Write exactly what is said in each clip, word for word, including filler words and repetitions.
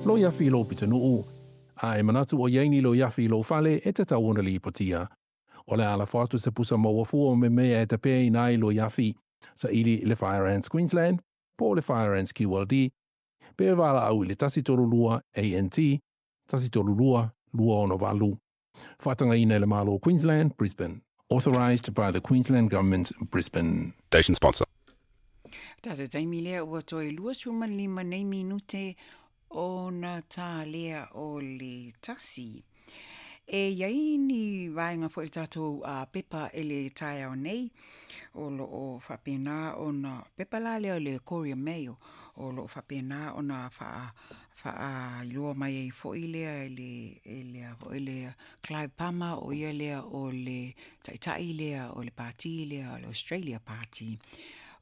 Loiafi i lou pitonuu, a e manatu o i ai ni loiafi i lou fale, e tatau ona lipotia. O le a lafo atu se pusa maua fua me mea e tapeina ai loiafi, saili i le Fire Ants Queensland po o le Fire Ants Q L D, pe valaau i le tasi tolu lua A N T, tasi tolu lua, lua ono valu. Faatagaina e le Malo o Queensland, Brisbane. Authorised by the Queensland Government, Brisbane. Station sponsor. Tātou taimi lea ua toe lua suma lima nei minute o na tā lea o le tasi. E iai ni vaenga foi le tātou uh, pepa e le taeao nei, o lo o faapena ona pepa la lea o le Courier Mail, o lo o faapena ona wha, whaailoa mai ai foi lea e le, e lea foi lea Clive Palmer, o ia lea o le taitai lea o le party lea o le Australia Party.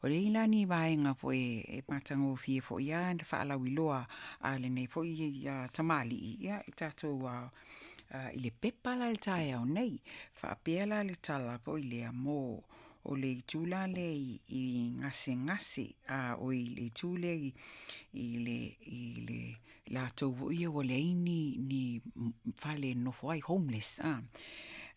O le ila ni vaenga foi e matagofie foi ia na whaalauiloa a le nei foi ia tamali ia i tātou uh, uh, i le pepa la le taeao nei. Whaapea la le tala foi lea mō o le itu la le i, i ngase ngase, a o i le itu le i, i le, i le lātou foi ia ua leai ni, ni fale nofo ai homeless. A.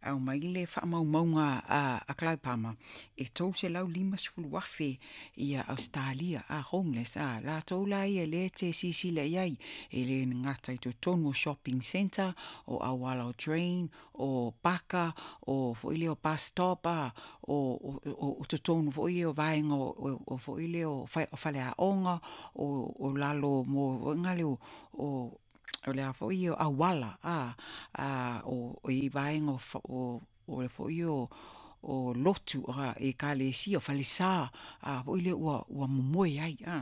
Au mai le whaamaumauga a, a Clive Palmer, e tolu selau lima sefulu afe ia Australia, a homeless, a lātou la ia le te sisila iai, e le ngata i totonu o shopping centre, o auala o train, o paka, o foi le o bus stop, a, o, o, o, o totonu foi o vaenga o, o, o foi le o wha, o whaleaonga, o, o lalo mo o ngale o, o o lea foi o awala, a, a, o, o i vaenga o fa-, o, o le foi o, o lotu, a, e ka le si o falesa, a, foi le ua, ua momoe ai, a.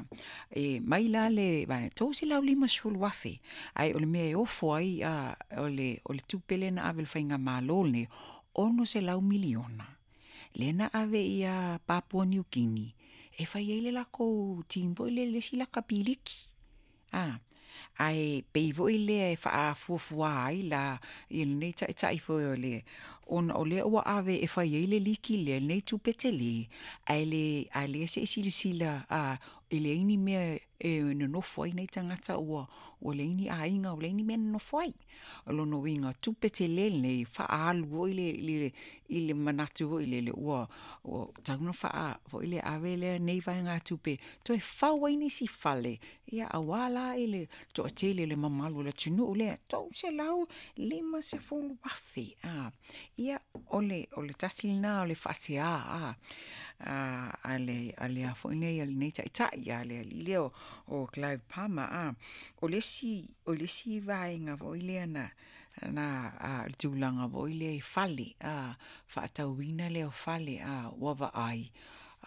E mai la le vaenga, tolu selau lima sefulu afe, ai o le mea e ofo ai, a, o le, o le tupe lea na ave le whainga malo le, ono selau miliona. Le na ave ia Papua New Guinea, e whai ai le lako team foi le le si laka piliki. A, ai pei foi lea e whaafuafua ai la i lenei taitai foi o le, ona o lea ua ave e whai ai le liki lea lenei tupe tele, ai le, ai le se silasila, a, e le ini mea e nonofo ai nei tangata ua, ua le ini aiga, ua le ini mea nonofo ai. O lona uiga tupe tele lenei whaalu foi le, le, i le manatu foi le, le ua, ua tauna whaa foi le ave lea nei vaenga tupe, toe fau ai nisi fale, ia awā la i le toatele le mamalu o le atunuu lea, tolu selau lima sefulu afe. A, ia, o le, o le tasi lena o le faasea, a, a, a le, a le a foi nei, a lenei taitai, a le alii lea o, o Clive Palmer, a, o le isi, o le isi vaenga foi lea na, na, a, le tulaga foi lea i fale, a, faatauina lea o fale, a, ua vaai,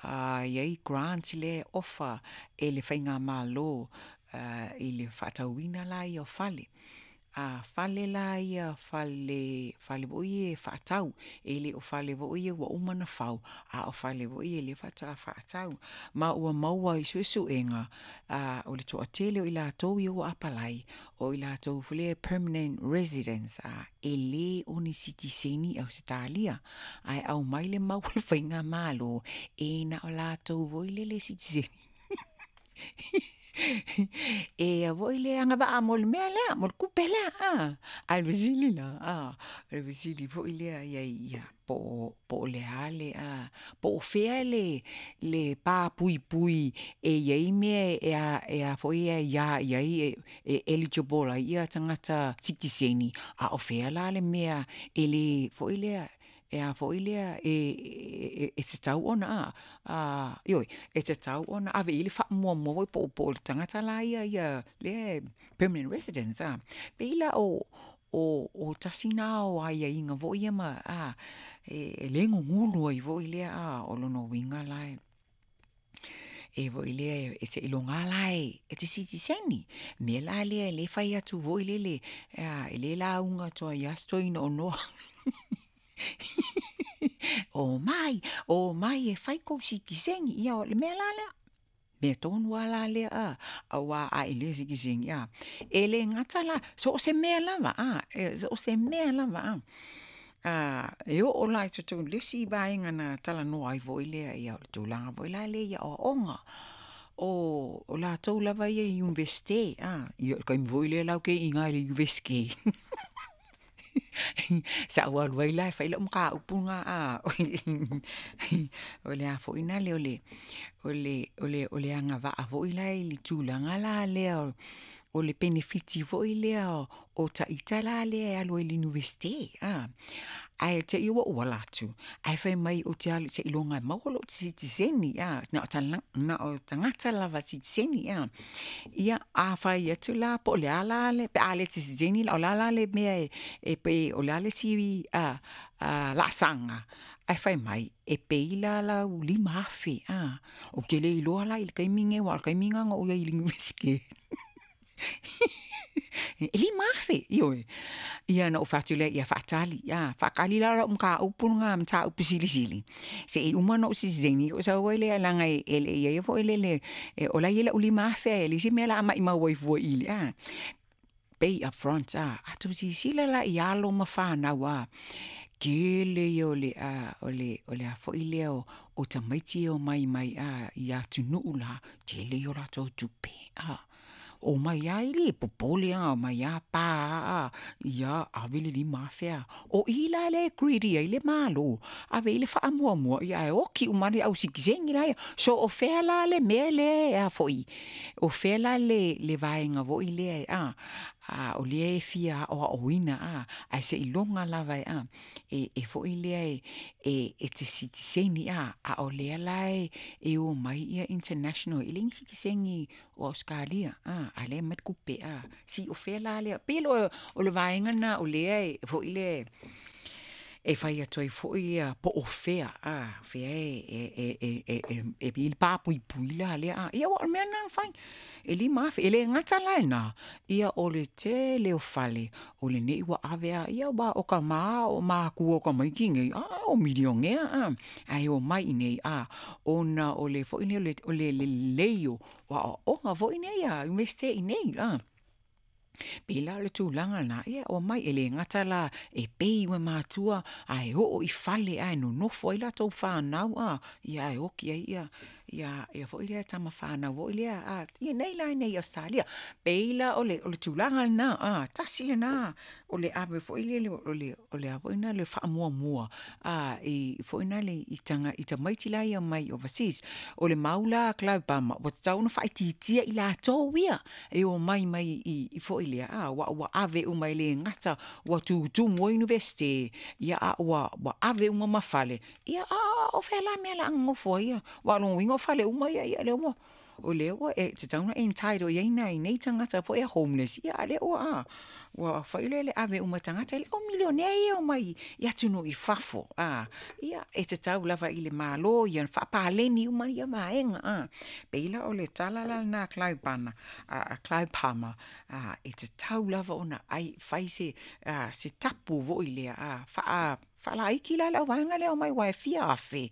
a, iai grants lea ofa e le whainga malo, a, i le faatauina la ia o fale. A fale la ia, fale, fale foi e faatau, e le o fale foi e ua uma na fau, a o fale foi e le faatoa faatau. Ma ua maua i suesuega, a, o le toatele o i latou ia ua apalai, o i latou foi lea permanent residence, a, e le o ni sitiseni Australia, ai au mai le mau le whainga malo, e na o latou foi le le sitiseni. E a voi le anga va mo le mea lea, mo le kupe lea, a. Ai le vesili la, a. Le vesili foi lea ia, ia, po, po le ale, a. Po o fea le, le pā pui pui e ia i mea e a, e a foi e ia, ia i e, e eligible ai ia tangata sitiseni. A o fea la le mea e le foi lea, e a foi lea e, e, e, e te tau ona, a, a, ioi, e te tau ona, ave i le whaamua mua po, po le tangata la ia, ia, lea permanent residence, a. Pe ila o, o, o tasina o ai ia inga voi ia ma, a, e, e le ngungulu ai voi lea, a, o lono winga la e. E voi lea e se ilonga la e, e te sitiseni. Me la lea le whai atu voi le le, a, e le la unga toa ia stoina o noa. O mai, o mai e whai kou sitiseni, ia o le mea la lea. Mea tonu a la lea, a, a wā a e le sitiseni, a. E le ngata la, so o se mea lava, a, e, so o se mea lava, a. A, e o o la i tutu, le si vaenga na tala noa ai voi lea, ia o le tūlanga voi la le ia o onga. o o latou lava ia i Iunivesite a, ia o le taimi foi lea la ou te iiga i le Iunivesite. Sa ou alu ai la e fai lau mataupu lena a, o le a foi lea o le o le o le o le agavaa foi la i le tulaga la lea o le penefiti foi lea o ita la lea e alu ai i le Iunivesite a. Ae te i ua ou ala atu, ae fai mai ou te alu seiloga e maua lou sitiseni a, na o na o tagata lava sitiseni a. Ia a fai atu la po o le a la le pe a le sitiseni o le a la le mea e e pei o le a le isi laasaga, ae fai mai e pay la lau lima afe a. Ou te le iloa la i le taimi lenei aua o le taimi lena na ou i ai i le Iunivesite E lima afe, ioe. Ia na ou fai atu lea, ia faatali, a, faatali la lau mataupu lena mataupu silisili, se i uma ona ou sitiseni ona ou sau ai lea leaga e le i i ai foi lele o la e i ai lau lima afe e leai se mea o le a maumau ai fua i i a, pay up front a. A outou silasila la i alo ma fanau a, tele ia o le a o le o le a foi lea o tamaiti e omai mai a i atunuu la, tele ia o latou tupe a. Omai lava e le popole lava, omai lava pa lava, ia ave le lima afe a. O i la lea e greedy ai le Malo, ave i ai le faamuamua ae oti uma lava le au sitiseni la ia. So o fea la le mea lea e a foi, o fea la le le vaega foi lea a, a o lea e fia aoaoina a, ae seiloga lava e a, e e foi lea e e e te sitiseni a, a o lea la e e omai ia international, e leai ni sitiseni o Ausetalia a, a o lea e aumai le tupe a. Se o fea la lea, pei o le vaega lena o lea e foi lea e fai atu ai foi ia po o fea a, fea e e e e e e i ai le papuipui la lea a. Ia aua o le mea lena na fai, e lima afe. E le gata la i lena, ia o le tele o fale o lenei ua ave lava, ia aua o tama o matua o tamaiti nei, a o milionea a, ae omai i inei a, ona o le foi lea o le lelei o aoaoga foi nei a Iunivesite i inei a. Pei la o le tulaga lena, ia omai, e le gata la e pay e matua ae oo i fale ae nonofo ai latou fanau a, ia ae oti ai ia ia ia foi lea tama fanau foi lea a, ia nei la i inei i Ausetalia. Pei la o le o le tulaga lena a, tasi lena o le ave foi lele o le o le a foi lena le faamuamua a i foi lena i taga i tamaiti la ia mai overseas. O le mau la a Clive Palmer, ua tatau ona faaitiitia i latou ia e omai mai i i foi lea a, aua ua ave uma e le gata ua tutumu ai Iunivesite, ia a ua ua ave uma ma fale, ia a o fea la le mea o le a nonofo ai ia? Aua o lona uiga o fale uma ia, ia lea ua o lea ua e tatau ona entitle i ai nai nei tagata foi ia homeless, ia a o lea ua a, ua fai lea le ave uma o tagata, e le o milionea ia e omai i atunuu i fafo a. Ia e tatau lava i le Malo ia faapaleni uma ia vaega a. Pei la o le tala la lena a Clive Palmer, a Clive Palmer, a e tatau lava ona ai fai se a se tapu foi lea a, faa faalaiti la le auvaega lea omai aua e fia afe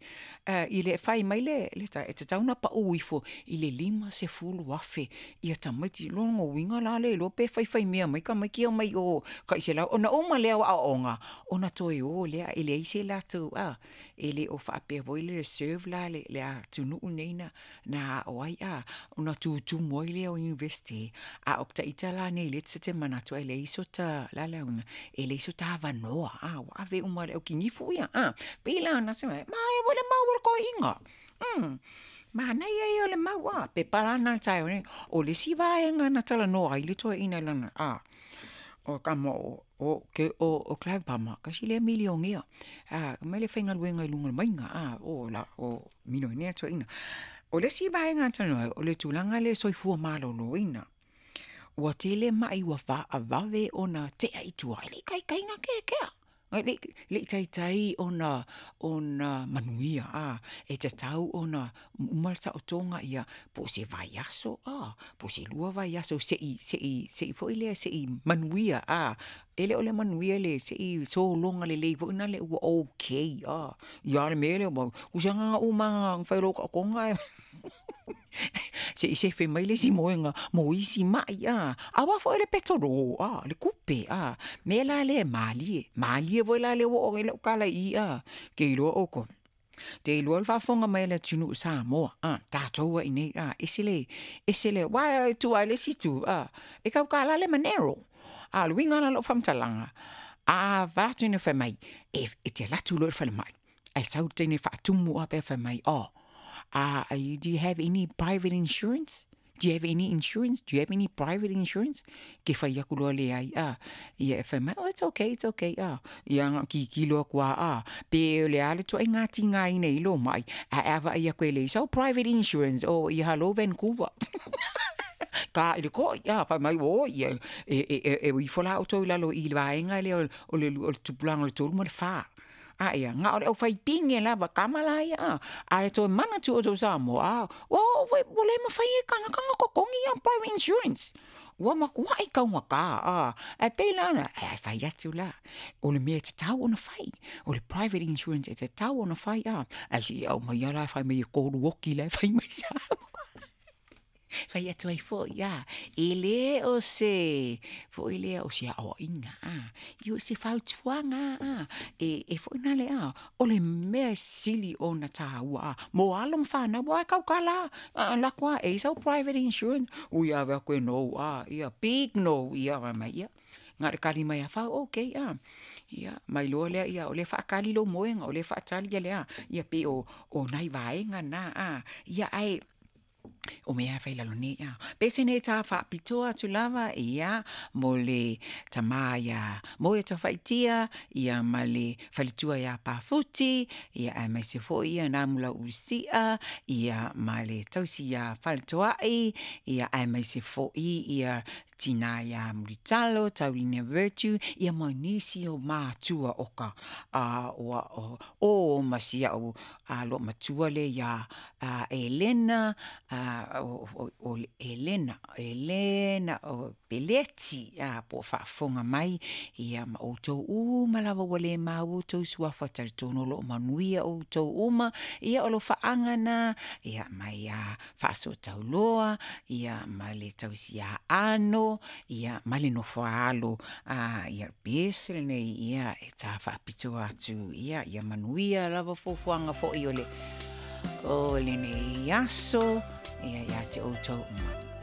i le fai mai le le e tatau ona pau ifo i le lima sefulu afe ia tamaiti. Lona uiga la le iloa pe faifaimea mai tamaiti ia mai o tai selau ona uma lea o aoaoga ona toe o lea e leai se latou a, e le o faapea foi le serve la le le atunuu nei na na ao ai a, ona tutumu ai lea o Iunivesite. A o ita la nei lea ta te manatu e leai so ta la le auga e leai so ta avanoa a, ua ave uma e le aukinifu ia a. Pei la ona se ma e le mau o le toeaiina. Mm. Manaia ia o le mau a, pepa la na taeao nei. O le isi vaega na talanoa ai le toeaina i lana a, o tama o o ke o o Clive Palmer, kasi lea milionea. A, mai le faigaluega i luga o le maiga a, o la o milionea toeaina. O le isi vaega na talanoa ai, o le tulaga lea soifua maloloina. Ua tele mai ua faavave ona tea i tua, e le i taitai ona keakea. E le le i taitai ona ona manuia a, e tatau ona uma le taotoga ia po o se vaiaso a, po o se lua vaiaso se'i se'i se'i foi lea se'i manuia a. E le o le manuia le se'i sologa lelei foi lena ua okay a. Ia a le mea lea ua tusa na uma na fai loa taotoga ae se i sefe mai le isi moega mo isi mai a. Aua foi le petolo a, le tupe a. Mea la lea e malie, malie foi la lea ua oo i ai lau tala i i a, ke iloa outou. Te iloa le faafofoga mai a le atunuu Samoa, a, tatou ai nei, a, ese le, ese le, aua e tuu lava i le isi itu, a, e tautala le Monero. A o le uiga la o lau faamatalaga, a vaeatu ina fai mai, e, e te alu atu loa i le falemai, ae sau le teine e faatumu lava pe fai mai, oh, uh, do you have any private insurance? Do you have any insurance? Do you have any private insurance? Ke fai aku loa leai, a, ia e fai mai, oh, it's okay, it's okay, a. Ia na kikilo aku a, a, pe o le a le tuaiga tigaina i lou mai, ae a vaai aku e leai sau private insurance, oh, ia hello Vancouver. Ka i le koi, a, fai mai, oh, ia, e, e, e, e ifo la outou i lalo i le vaega lea o, o le, o le tupulaga o le tolu ma le fa. A ia, na o le aufaipine lava, kama la ia, a. Ae toe manatu outou Samoa, a, ua, ua, ua le mafai e kanaka ona totogi ia private insurance. Ua matuai taugata, a. Ae pei la ona, ae fai atu la, o le mea e tatau ona fai, o le private insurance e tatau ona fai, a. Ae se i aumaia la e fai mai e tolu oki la e fai mai Samoa. Fai atu ai foi, a, e le o se foi lea o se aoaiga, a, i o se fautuaga, a, e, e foi na le, a, o le mea e sili ona tāua, a, mo alo ma whanau, aua e tautala, a, lako a, e i sau private insurance, ui ave aku e no, a, ia, big no, ia, fai mai, ia, na o le kali mai a fau, okay, a, ia, mai loa lea, ia, o lea e faakali lou moega, o lea e faatali ia le a, ia, pei o, o nai vaega na, a, ia, ae, o mea e fai lalo nei, a. Pese nei tā faapitoa atu lava, ia, mo le tamā iā Moe Tafaitia, ia ma le faletua iā Pafuti, ia aemaise foi ia Namulau Usia, ia ma le tausi iā Faletoai, ia aemaise foi ia tinā iā Mulitalo, Taulina Virtue, ia ma nisi o matua o ka, a, o, o, o ma si au a loomatua lea iā Elena, o Elena, Elena o Peleti, a po o faafofoga mai, ia ma outou uma lava ua le maua outou suafa talitonu o lo o manuia outou uma, ia o lo faaga na, ia mai a faasootauloa, ia ma le tausiaano, ia ma le nofoaalo, a ia pese lenei, ia e tā faapitoa atu, ia ia manuia lava fuafuaga foi o le o lenei aso, ia ia te outou uma.